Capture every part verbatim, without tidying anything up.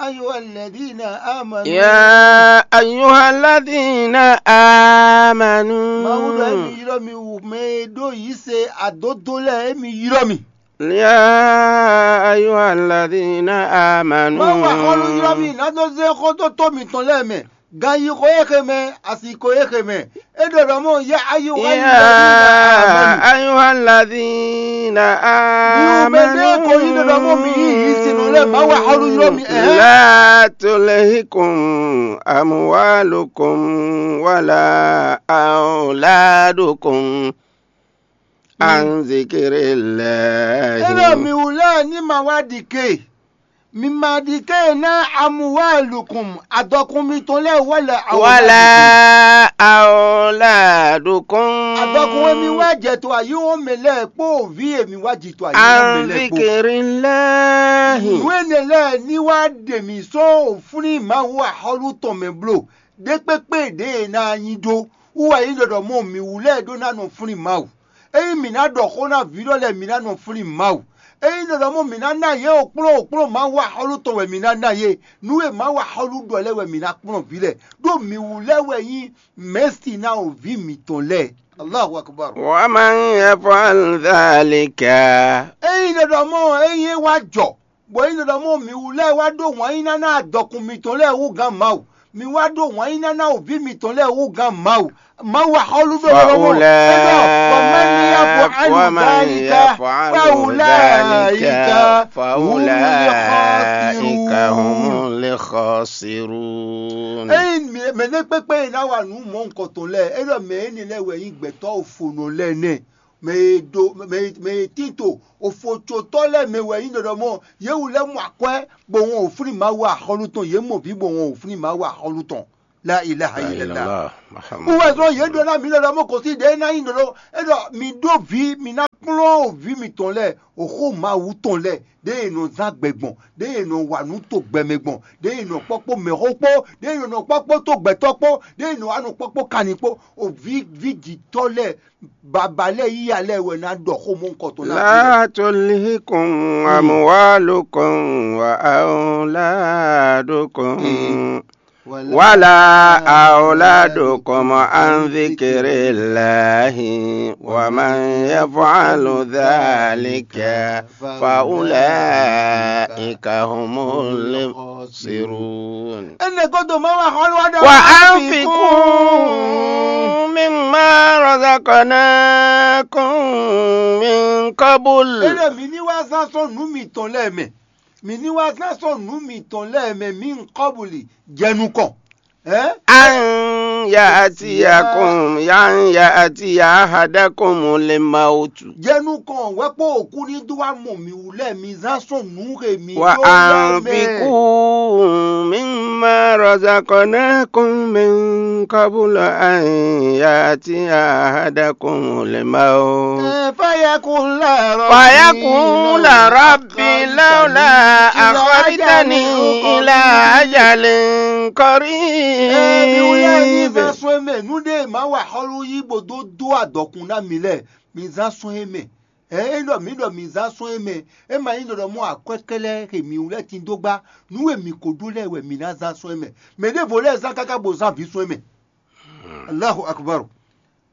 أيها الذين آمنوا. يا أيها الذين آمنوا. Mawu ɖɔ émi ylɔ́ mi wú mɛ e ɖó yǐ se adódó lɛ́ɛ, émi ylɔ́ mi. يا أيها الذين آمنوا. Mawu axɔ́lú ylɔ́ mi ná dó zé xótótó mitɔn lɛ́ɛ mɛ, gan yi xo e xe mɛ, asi ko e xe mɛ. É ɖɔ ɖɔ mɔ yá ayé wá yí يا أيها الذين آمنوا. Mi wú mɛ ɖé ko yí ɖɔ ɖɔ mɔ mi yí yǐ sinɔ lɛ́ɛ Mawu axɔ́lú ylɔ́ mi ɛhɛn. لا تلهكم أموالكم ولا أولادكم عن ذكر الله. Éɖɔ mi wú lɛ́ɛ ní ma wá ɖi ké. Mi ma ɖi ké ná amúwálukùn adɔkun mitɔn lɛ́ɛ wɛ lɛ ولا أولادكم. Adɔkun e mi wá jɛ to ayíwɔn mɛ lɛ́ɛ kpó vǐ e mi wá ji to ayíwɔn mɛ عن lɛ́ɛ kpó. ذكر الله. Nǔ énɛ́ lɛ́ɛ ní wá ɖe mǐ sɔ́ òfúnní Mawu axɔ́lú tɔn mɛ bló. Ɖékpékpé ɖě e ná nyí ɖó wú wɛ nyí ɖɔɖɔ mɔ mǐ wú lɛ́ɛ ɖó ná nɔ flín Mawu. Ényí mǐ ná ɖɔ xó ná vǐ lɔ lɛ́ɛ, mǐ ná nɔ flín Mawu. Ényí ɖɔɖɔ mɔ mǐ ná ná yě okplɔ́n okplɔ́n Mawu axɔ́lú tɔn wɛ mǐ ná ná yě, nǔ e Mawu axɔ́lú ɖɔ lɛ́ɛ wɛ mǐ ná kplɔ́n vǐ lɛ́ɛ, ɖó mǐ wú lɛ́ɛ wɛ nyí mɛ̌si ná o vǐ mǐtɔn lɛ́ɛ. Allahu akbar. ومن يفعل ذلك. Ényí ɖɔɖɔ mɔ ényí é wá jɔ, bɔ é nyí ɖɔ mɔ mǐ wú lɛ́ɛ wá ɖó wǎn yíyí ná ná adɔkun mitɔn lɛ́ɛ wú gán Mawu. Mi wá ɖó wǎn yíyí ná ná wǔví mitɔn lɛ́ɛ wú gán Mawu. Mawu axɔ́lú ɖɔ lɔmɔ. فأولئك ومن يفعل ومن ذلك يفعل فأولئك ذلك هم فأولئك الخاسرون. هم الخاسرون. Ényí mɛ ɖé kpékpé e ná wa nǔ mɔ̌ nukɔntɔn lɛ́ɛ, é ɖɔ mɛ énɛ́ lɛ́ɛ wɛ nyí gbɛ̌tɔ́ ofonɔ lɛ́ɛ nɛ́. Mɛ e ɖo mɛ e mɛ e tín to ofocotɔ́ lɛ́ɛ mɛ wɛ nyí ɖɔɖɔ mɔ yě wú lɛ́ mɔ akwɛ́, bó wɔn wǒ flín Mawu axɔ́lú tɔn, yě mɔ vǐ bó wɔn wǒ flín Mawu axɔ́lú tɔn. La ilaha illallah. Wú wɛ zɔn yě ɖɔ ná mi ɖɔɖɔ mɔ kɔsí ɖě ná nyí ɖɔɖɔ é ɖɔ mi ɖó vǐ, mi ná kplɔ́n vǐ mitɔn lɛ́ɛ, oxó Mawu tɔn lɛ́ɛ, ɖěe è nɔ zán gbɛ gbɔn, ɖěe è nɔ wa nǔ to gbɛ mɛ gbɔn, ɖěe è nɔ kpɔ́ kpó mɛxó kpó, ɖěe è nɔ kpɔ́ kpó tó gbɛtɔ́ kpó, ɖěe è nɔ wá nɔ kpɔ́ kpó kanni kpó, o vǐ vǐ jǐtɔ́ lɛ́ɛ, baba lɛ́ɛ yíya lɛ́ɛ wɛ ná ɖɔ xó mɔ nukɔntɔn ná. لا تلهكم أموالكم وأولادكم ولا أولادكم عن ذكر الله ومن يفعل ذلك فأولئك هم الخاسرون. Ene godo ma wa xɔlu wa da. وأنفقوا مما رزقناكم من قبل. Ene mi ni wa zan sɔn nu mi tɔn lɛ mɛ. Mi ni wa zan sɔn nu mi tɔn lɛ mɛ mi nkɔbuli jɛnu kɔn. Ɛn? أن يأتيكم أن يأتي أحدكم الموت. Jɛnu kɔn wɛ kpó òkú ní dó wa mɔ mi wú lɛ mi zan sɔn nu he mi dó lɛ mɛ. وأنفقوا مما رزقناكم من قبل أن يأتي أحدكم الموت. Ẹ, فيقول رب فيقول رب لولا أخرتني إلى أجل قريب. Ẹ, mi wú lɛ mi zan sɔn e mɛ nu ɖe ma wa xɔlu yí bo dó dó adɔkun ná mi lɛ mi zan sɔn e mɛ. Ɛ, é ɖɔ mǐ ɖɔ mǐ zán sɔ́ é mɛ, é ma nyí ɖɔ ɖɔ mɔ akwɛ́ kɛ́lɛ́ he mǐ wú lɛ́ tin dó gbá, nǔ e mǐ ko ɖó lɛ́ɛ wɛ mǐ ná zán sɔ́ é mɛ. Mɛ ɖěvo lɛ́ɛ zán káká bo zán vǐ sɔ́ é mɛ. Allahu akbar.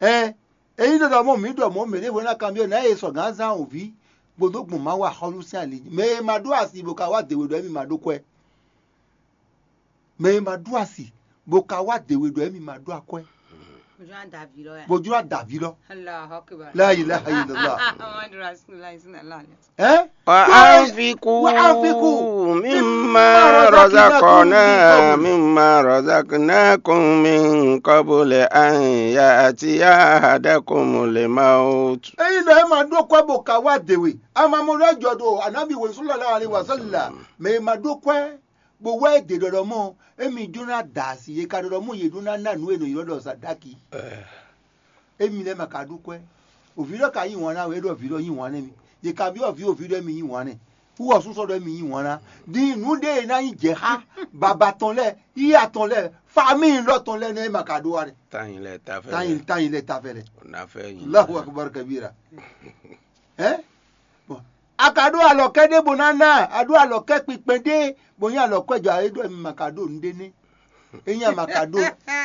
Ɛ, é nyí ɖɔ ɖɔ mɔ mǐ ɖɔ mɔ̌ mɛ ɖěvo ná kanbyɔ́ nǎ e sɔgǎn zán wǒví, bó dó gbɔn Mawu axɔ́lú sín ali jí. Mɛ e ma ɖó asi bó ka wá dě we ɖɔ émí ma ɖó kwɛ́. Mɛ e ma ɖó asi bó ka wá dě we ɖɔ émí ma ɖó akwɛ́. Bó jló ná da vǐ lɔ ya. Bó jló ná da vǐ lɔ. Allahu akbar. La ilaha illallah. Muhammadu Rasulullah sallallahu alaihi wasallam. Ɛ? وأنفقوا وأنفقوا مما رزقنا مما رزقناكم من قبل أن يأتي أحدكم الموت. Eyi nɔ e ma ɖó kwɛ́ bó ka wá dě we. Amamɔ lɔ jɔ ɖo anabi wo sallallahu alaihi wasallam. Mɛ e ma ɖó kwɛ́ bó wá é dě ɖɔɖɔ mɔ, émi jló ná da asi, yě ka ɖɔɖɔ mɔ yě ɖó ná ná nǔ e nɔ ylɔ́ ɖɔ zadaki. Émi lɛ́ɛ ma ka ɖó kwɛ́. Òvǐ lɔ ka yí wǎn ná wɛ, é ɖɔ vǐ lɔ yí wǎn nú émi. Yě ka byɔ́ vǐ òvǐ ɖɔ émi yí wǎn nɛ. Wú ɔ́ súsɔ ɖɔ émi yí wǎn ná. Din nǔ ɖé e ná nyí jɛ̌xá baba tɔn lɛ́ɛ, yíya tɔn lɛ́ɛ, famíi lɔ tɔn lɛ́ɛ nɛ́ é ma ka ɖó wá nɛ. Tanyi lɛ tafɛ. Tanyi tanyi lɛ tafɛ lɛ. Nafɛ nyi. Allahu akbar kabira. Ɛ? Bɔn A ka ɖó alɔkɛ́ ɖé bó ná ná, a ɖó alɔkɛ́ kpinkpɛn ɖé, bó nyí alɔkɛ́ jɔ é ɖɔ mi ma ka ɖó nǔɖé nɛ́. É nyí a ma ka ɖó,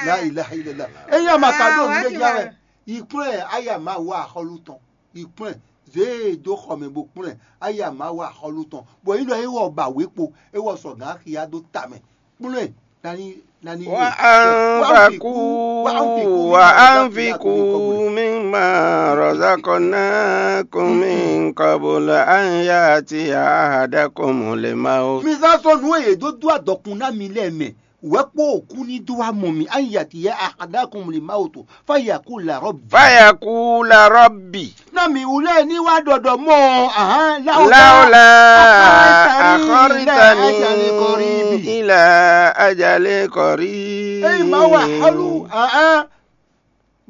la ilaha illallah. É nyí a ma ka ɖó nǔɖé nya wɛ. Yi kplɔ́n ɛ, aya Mawu axɔ́lú tɔn. Yi kplɔ́n ɛ, zě e dó xɔ mɛ bó kplɔ́n ɛ, aya Mawu axɔ́lú tɔn. Bɔ é ɖɔ é wɔ ba wě kpo, é wɔ sɔgǎn xiya dó ta mɛ. Kplɔ́n ɛ, nani nani. Wa anfiqu, wa anfiqu mimma razaqnakum min qabl an ya'tiya ahadakumul maut. Mi zán sɔ́ nǔ e yě dó dó adɔkun ná mi lɛ́ɛ mɛ, wɛ̌ kpó òkú ní dó wá mɔ mi, an ya'tiya ahadakumul maut, fa yaqula rabbi. Fa yaqula rabbi. Ná mi wú lɛ́ɛ ní wá ɖɔɖɔ mɔ ɔ́, ahán, láwùlá. Láwùlá akharitani ila ajali qarib. Ényí má wa xɔlú, ahán,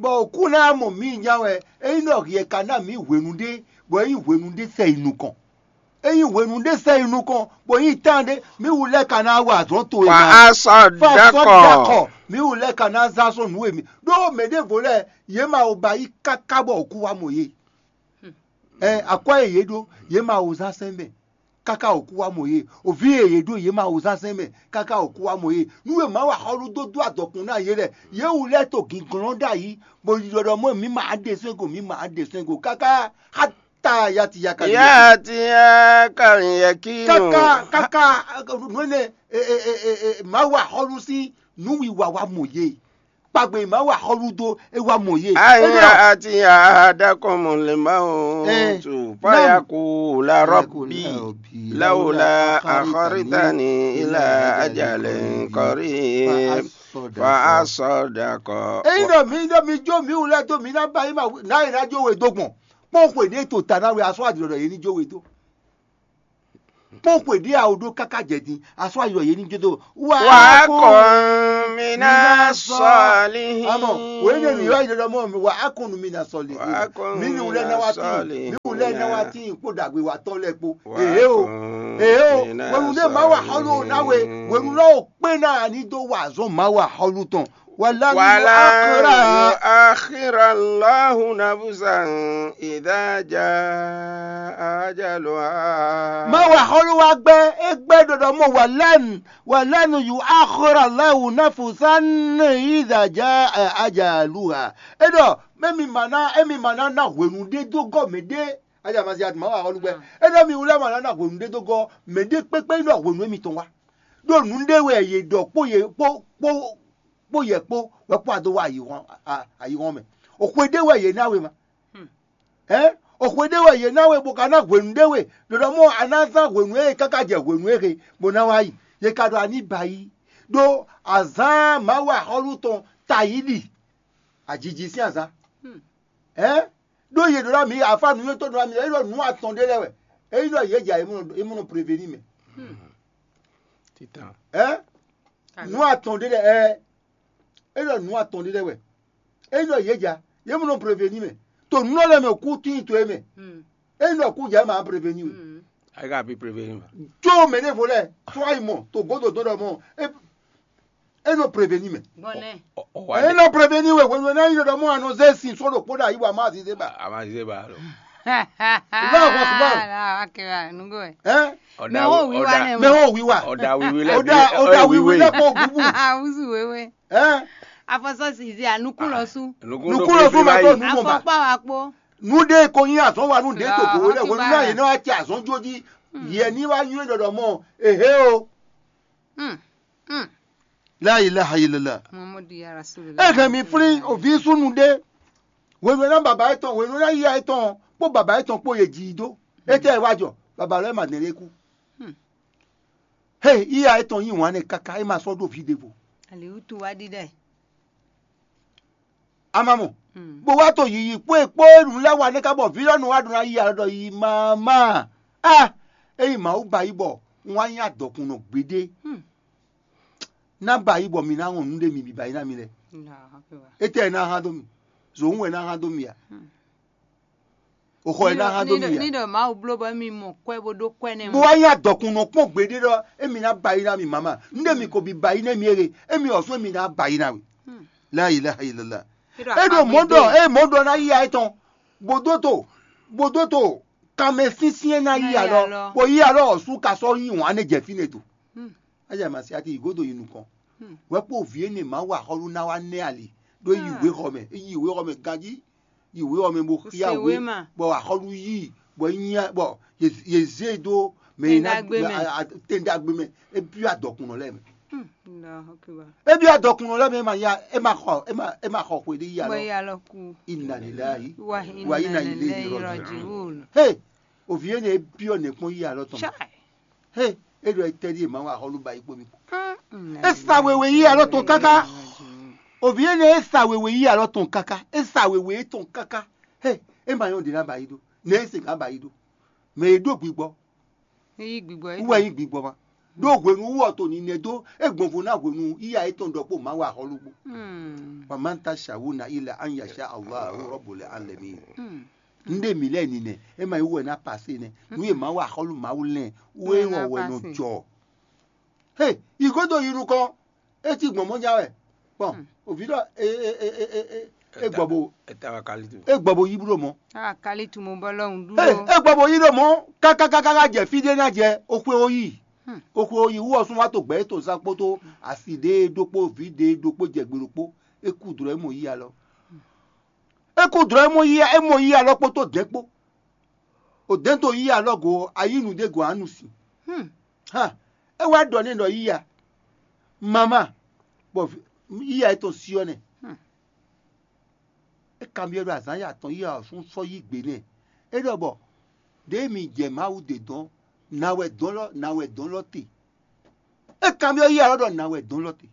bɔ òkú ná mɔ mǐ nya wɛ, ényí ɖɔ hiɛ ka ná mǐ hwenu ɖé, bɔ é nyí hwenu ɖé sɛ yi nukɔn. É nyí hwenu ɖé sɛ yi nukɔn, bɔ é nyí tán ɖé, mǐ wú lɛ́ɛ ka ná wa azɔ̌ towe. Fa asɔdakɔ. Mǐ wú lɛ́ɛ ka ná zán sɔ́ nǔ e mǐ ɖó mɛ ɖěvo lɛ́ɛ, yě ma wo ba yí káká bɔ òkú wá mɔ yě. Ɛ akwɛ́ e yě ɖó, yě ma wo zán sɛn mɛ, káká òkú wá mɔ yě. Òví e yě ɖó, yě ma wo zán sɛn mɛ, káká òkú wá mɔ yě. Nú e má wa xɔlú dó dó adɔkun ná yě lɛ, yě wú lɛ́ɛ to gǐnglɔ́n ɖ'ayǐ, bó ɖiɖɔ ɖɔ mɔ̌ mǐ ma ɖe sɛ́n go, mǐ ma ɖe sɛ́n go, káká xá ta yati yaka. Yati ya kal yakinu. Káká káká nú énɛ́ má wa xɔlú sín nǔwiwa wá mɔ yě. Kpagbe má wa xɔlú dó é wá mɔ yě. Aya ati ahadakum lima o tu fayaku la rabbi laula akharitani ila ajalin qarib fa asadaqa. Eyi ɖɔ mi ɖɔ mi jó mi wulɛ dó mi ná ba yi ma ná yi ná jó we dó gbɔn kpɔn xwe ɖé to ta ná we asɔ adi ɖɔ yé ní jó we dó. Kpɔ́n xwe ɖé a ò ɖó káká jɛ din, a sɔ́ ayi ɖɔ yě ní jó dó. Wà á kún mi ná sɔ́ alihi. Amɔ wòye ɖe nǔ yɔ yi ɖɔ mɔ wà á kún mi ná sɔ́ alihi. Mi ní wulɛ ná wá tí mi wulɛ ná wá tí kpó ɖàgbé wa tɔ́ lɛ kpó. Èhé o, èhé o, wẹnu ɖé má wà xɔlú o ná we, wẹnu lɔ o kpé ná a ní dó wà azɔn má wà xɔlú tɔn. Wala yuakhira Allahu nafsan idha jaa ajaluha. Má wa xɔlú wa gbɛ, é gbɛ ɖɔɖɔ mɔ walan walan yuakhira Allahu nafsan idha jaa ajaluha. É ɖɔ mɛ mi ma ná, é mi ma ná ná hwenu ɖé dó gɔ́ mɛ ɖé. Aja ma zi ati má wa xɔlú gbɛ. É ɖɔ mi wulɛ ma ná ná hwenu ɖé dó gɔ́ mɛ ɖé kpékpé ɖɔ hwenu émitɔn wá. Ɖó nǔ ɖé wɛ yě ɖɔ kpó yě kpó kpó kpó yɛ kpó wɛ kpó adó wá ayǐhɔ́n ayǐhɔ́n mɛ. Òxwe ɖé wɛ yě ná we ma. Ɛ̌ òxwe ɖé wɛ yě ná we bó ka ná hwenu ɖé we ɖɔɖɔ mɔ a ná zán hwenu e káká jɛ hwenu e he bó ná wá yi. Yě ka ɖɔ a ní ba yí ɖó azǎn Mawu axɔ́lú tɔn ta yí ɖi ajiji sín azǎn. Ɛ̌ ɖó yě ɖɔ ná mǐ afá nǔnywɛ́tɔ́ ɖɔ ná mǐ é ɖɔ nǔ atɔn ɖé lɛ́ɛ wɛ. É nyí ɖɔ yě jɛ é mɔ nɔ prévéni mɛ. Titan. Ɛ̌ nǔ atɔn ɖé lɛ́ɛ ɛ é ɖɔ nǔ atɔn ɖé lɛ́ɛ wɛ. É nyí ɖɔ yě ja yě mɔ nɔ prévéni mɛ to nǔ lɛ́ɛ mɛ kú tín to é mɛ. É nyí ɖɔ kú ja é ma prévéni we. Ayi ka bi prévéni ma. Tso mɛ ɖěvo lɛ tso ayi mɔ to gǒdo dó ɖɔ mɔ é é nɔ prévéni mɛ. Gbɔnɛ. É nɔ prévéni we hwenu e ná nyí ɖɔ mɔ anɔ zé sin só ɖokpó ɖo ayi wa má azize ba. Ama zize ba lo. Allahu akbar. Allahu akbar, nugó ɛ. Ɛ Mɛ wo wiwa nɛ mɛ wo wiwa. Ọ̀dà wíwí lẹ ọ̀dà ọ̀dà wíwí lẹ kó gúgú. Awuzu wewe. Ɛ Afɔsɔ sizi anukun lɔ su. Nukun lɔ fún ma tó nu mɔ ba. Afɔkpa wa kpó. Nu ɖe ko nyi azɔn wa nu ɖe to gbowó lɛ wẹnu náà yìí náà wá tẹ azɔn jó jí yẹ ní wá nyú ɖɔɖɔ mɔ ehe o. Hmm. Hmm. La ilaha illallah. Muhammadu ya Rasulullah. Eke mi flin ovi sunu ɖe. Wenu na baba etɔn, wenu na iya etɔn, kpó baba etɔn kpó ye ji do. Ete wa jɔ, baba lɛ ma nɛ lɛ ku. Hmm. He iya etɔn yi wan ne kaka e ma sɔ ɖo vi ɖevo. Aliwutu wa ɖi ɖɛ. Amamɔ. Hmm. Bó wá to yiyi kpó e kpó enu lɛ wa ne ka bɔ vi lɔ nu wa ɖo na yi alɔ ɖɔ yi mama. Ah, eyi Mawu ba yi bɔ un wá nya dɔkunnɔ gbeɖe. Hmm. Ná ba yi bɔ mi ná wɔn nǔ ɖe mi bi ba yi ná mi lɛ. Allahu Akbar. Etɛ ná hán dó mi. Zòun wɛ ná hán dó mi a. Hmm. Oxɔ ɛ ná hán dó mi a. Ní ɖɔ Mawu bló bɔ mi mɔ kwɛ bó ɖó kwɛ nɛ. Bó wá nya dɔkunnɔ kpɔn gbeɖe ɖɔ emi ná ba yi ná mi mama. Nú ɖe mi ko bi ba yi ná mi ere, emi ɔsún emi ná ba yi ná we. Hmm. La ilaha illallah. E ɖo mɔ ɖɔ e mɔ ɖɔ ná yi ayé tɔn. Bó dó to, bó dó to. Kanmɛ sínsɛ́n ná yí alɔ, bɔ yí alɔ ɔ́ sú ka sɔ́ yí wǎn nɛ jɛ fínɛ́ do. Aja masi ati yi godo yi nukɔn. Wɛ kpó vǐ énɛ́ ma wa xɔlu ná wá nɛ ali ɖó yi wé xɔ mɛ, yi wé xɔ mɛ ganjí, yi wé xɔ mɛ bó xia wé, bɔ axɔlu yí, bɔ é nyí bɔ yě zé e dó mɛ e ná tɛn ɖagbe mɛ, é byɔ́ adɔkunnɔ lɛ́ɛ mɛ. É byɔ́ adɔkunnɔ lɛ́ɛ mɛ, é ma ya, é ma xɔ, é ma é ma xɔ xwe ɖé yi alɔ. Inna lillahi wa inna ilayhi rajiun. He, òvǐ énɛ́ é byɔ́ nɛ̌ kpɔ́n yi alɔ tɔn. He, é ɖɔ etɛ́ ɖíe Mawu axɔ́lú ba yi kpó mi kpó. É sa wewe yí alɔ tɔn káká. Òvǐ énɛ́ é sa wewe yí alɔ tɔn káká. É sa wewe étɔn káká. He, é ma nyɔ́ ɖě ná ba yi ɖó. Nɛ̌ é se ká ba yi ɖó? Mɛ e ɖó gbigbɔ. Yí gbigbɔ é. Wú wɛ nyí gbigbɔ ma. Ɖó hwenu wú ɔ́ to ninɛ dó é gbɔnvo ná hwenu yíya étɔn ɖɔkpó Mawu axɔ́lú kpó. Wamanta shawuna ila an yasha Allahu Rabbul alamin. Nɖé mǐ lɛ́ɛ ninɛ, é ma nyí wú wɛ ná pasé nɛ́. Nǔ e Mawu axɔ́lú Mawu lɛ́n wú é wɔ wɛ nɔ jɔ. He, yi gǒdo yi nukɔn, é cí gbɔn mɔ̌ nya wɛ. Bɔn òvǐ ɖɔ é gbɔ bo é gbɔ bo yí bú ɖo mɔ̌. Akalitu mo bɔ lɔhùn dúró. É gbɔ bo yí ɖo mɔ̌ kákákáká jɛ fí ɖé ná jɛ oxwe ó yi. Oxwe ó yi wú ɔ sún wá to gbɛ é to zán kpódó asi ɖé ɖokpó vǐ ɖé ɖokpó jɛ gbe ɖokpó. É kú dlɔ̌ é mɔ yí alɔ. É kú dlɔ̌ é mɔ yí é mɔ yí alɔ kpódó dɛ̌n kpó. O dɛ̌n to yí alɔ go ɔ́, a yí nǔɖé go ǎ nu sin. Ha, é wá ɖɔ n'i ɖɔ yíya, mama, bɔ yíya é tɔn syɔ́ nɛ́. É kanbyɔ́ ɖɔ azǎn ya tɔn yíya ɔ́ sún sɔ́ yí gbe nɛ́. É ɖɔ bɔ ɖěe mi jɛ Mawu ɖe dɔn, nǎ wɛ dɔn lɔ nǎ wɛ dɔn lɔ te. É kanbyɔ́ yíya lɔ ɖɔ nǎ wɛ dɔn lɔ te.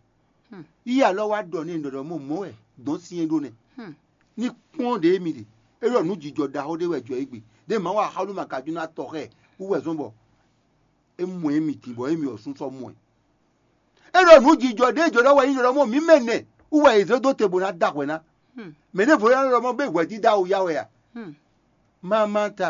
Yíya lɔ wá ɖɔ n'i ɖɔ ɖɔ mɔ mɔ̌ wɛ dɔn syɛ́n ɖó nɛ́. Ní kpɔ́n ɖě mi ɖe, é ɖɔ nǔ jijɔ ɖaxó ɖé wɛ jɔ égbé. Ɖě Mawu axɔ́lú ma ka jú ná tɔ xɛ wú wɛ zɔ́n bɔ é mɔ émi din bɔ émi ɔ́ sún sɔ́ mɔ ɛ. É ɖɔ nǔ jijɔ ɖěe jǒ ɖɔ wɛ nyí ɖɔ mɔ mǐ mɛ nɛ wú wɛ è zě dó te bó ná da hwɛ ná. Mɛ ɖěvo ná ɖɔ mɔ bé hwɛdídá awu ya wɛ a? Mamata,